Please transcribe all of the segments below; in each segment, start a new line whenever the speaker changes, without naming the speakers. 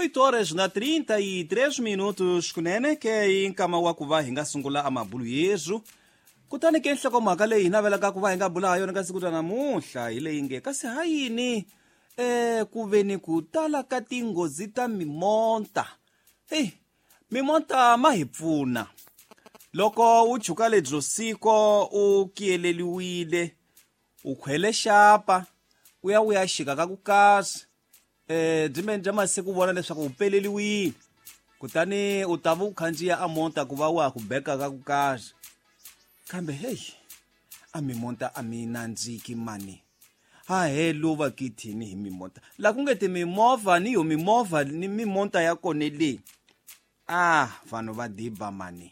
8 horas na 33 minutos kunene ke i nkama wa ku va hi nga sungula amabulu yesu. Kutani ke nhlokomhaka leyi hi navelaka ku va hi nga bula ha yona ka siku ra namuntlha hi leyi nge kasi ha yini ku ve ni ku tala ka tinghozi ta mimonta. Heyi, mimonta ma hi pfuna loko u chuka lebyo siko u kiyeleliwile, u khwele xapa u ya u ya xika ka ku kasi byi bya masiku u vona leswaku u peleliwile, kutani u ta va u khandziya a monta ku va wa ha ku beka ka ku kasi. Kambe heyi, a mimonta a mi nandziki mani. Ha he luva kithini hi mimonta la ku nge timimovha ni yo mimovha ni mimonta ya kone le, a vanhu va diba mani.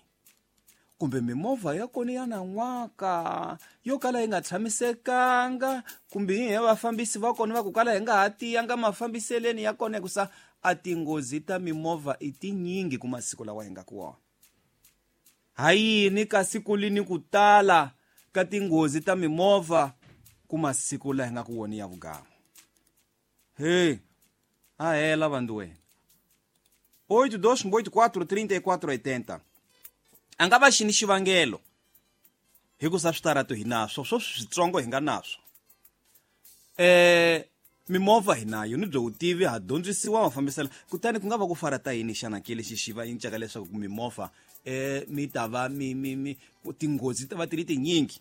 Kumbe mimovha ya kona ya nan'waka yo kala yi nga tshamisekanga, kumbe hi vafambisi va kona va ku kala hi nga ha tiyanga mafambiseleni ya kona, hikusa a tinghozi ta mimovha i tinyingi ku masiku lawa hi nga ku wona. Ha yini kasi ku li ni ku tala ka tinghozi ta mimovha ku masiku laha hi nga ku wona ya vugamu? He, a hela vandu wena. 8284 34 80 a nga va xini xivangelo, hikusa switarato hi naswo swo switsongo hi nga naswo. Mimovha hi nayo ni byo vutivi, ha dyondzisiwa mafambiselo, kutani ku nga va ku farata yini xana ke lexi xi va cincaka leswaku mimovha mi ta va mi mi mi tinghozi ta va ti ri tinyingi?